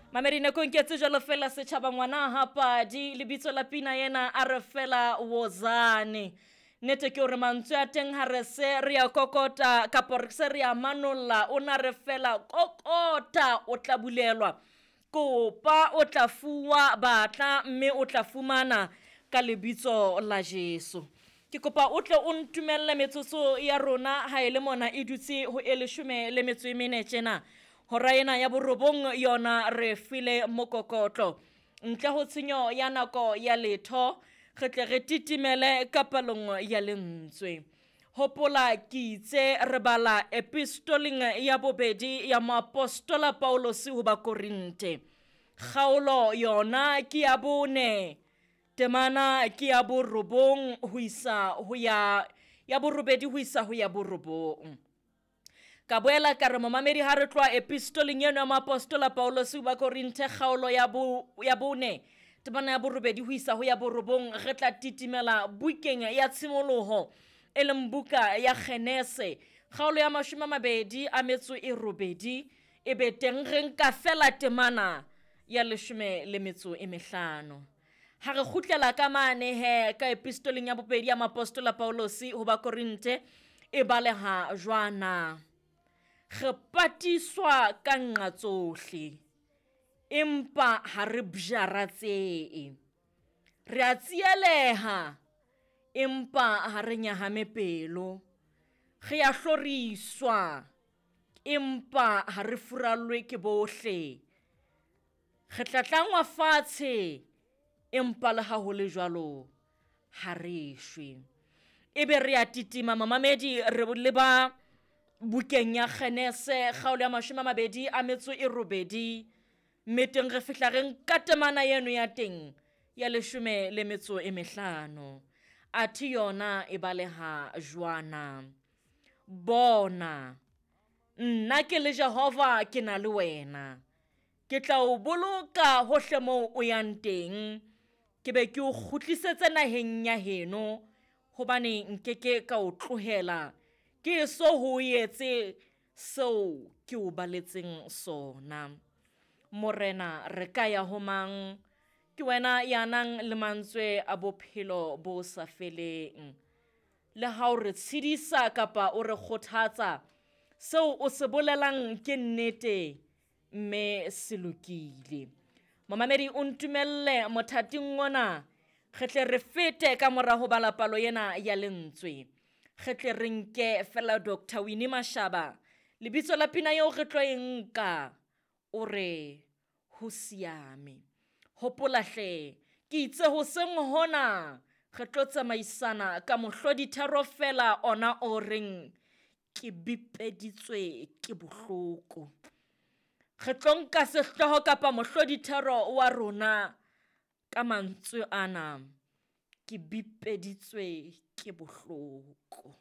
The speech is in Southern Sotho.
Mamedi nakong ke tse jalo fela setšhaba ngwana hapadi lebitso la pina ena a re fela wozane. Nnete ke hore mantswe a teng ha re se re ya kokota kapo re se re ya manolla o na re fela kokota o tla bulelwa. Kopa o tla fuwa batla mme o tla fumana ka lebitso la Jesu. Ke kopa o tle o ntumelle metsotso ya rona ha e le mona e dutse ho e leshome le metso e mene tjena. Hora ena ya borobong yona re file mokokotlo. Ntle ho tshenyo ya nako ya letho, re tle re titimele ka palong ya lentswe. Hopola ke itse re bala epistoleng ya bobedi ya moapostola Paulus ho Bakorinte. Kgaolo yona ke ya bone, temana ke ya borobong ho isa ho ya ya borobedi ho isa ho ya borobong. Ka boela ka re momamedi ha re tloha epistoleng eno ya moapostola Paulus ho Bakorinthe kgaolo ya bo ya bone temana ya borobedi ho isa ho ya borobong re tla titimela bukeng ya tshimoloho e leng buka ya Genese kgaolo ya mashome a mabedi a metso e robedi e be teng re nka fela temana ya leshome le metso e mehlano. Ha re kgutlela ka mane he ka epistoleng ya bobedi ya moapostola Paulus ho Bakorinthe e baleha jwana. Re patiswa ka nqa tsohle, empa ha re bjaratsehe. Re a tsieleha, empa ha re nyahame pelo. Re a hloriswa, empa ha re furallwe ke bohle. Re tlatlangwa fatshe, empa le ha ho le jwalo ha re shwe. Ebe re a titima mamamedi re leba bukeng ya Genese kgaolo ya mashome a mabedi a metso e robedi mme teng re fihla re nka temana eno ya teng ya leshome le metso e mehlano. Athe yona e baleha jwana. Bona, nna ke le Jehova ke na le wena. Ke tla o boloka hohle moo o yang teng, ke be ke o kgutlisetse naheng ya heno, hobane nkeke ka o tlohela ke eso ho etse seo ke o baletseng sona. Morena re ka ya ho mang? Ke wena ya nang le mantswe a bophelo bo sa feleng. Le ha o re tshedisa kapa o re kgothatsa, seo o se bolelang ke nnete mme se lokile. Momamedi o ntumelle mothating ona re tle re fete ka mora ho bala palo ena ya lentswe. Re tle re nke fela Dr. Winnie Mashaba lebitso la pina eo re tlo e nka o re ho siame. Hopola hle ke itse hoseng hona re tlo tsamaisana ka mohlodithero fela ona o reng ke bipeditswe ke bohloko. Re tlo nka sehlooho kapa mohlodithero wa rona ka mantswe ana ke bipeditswe ke bohloko.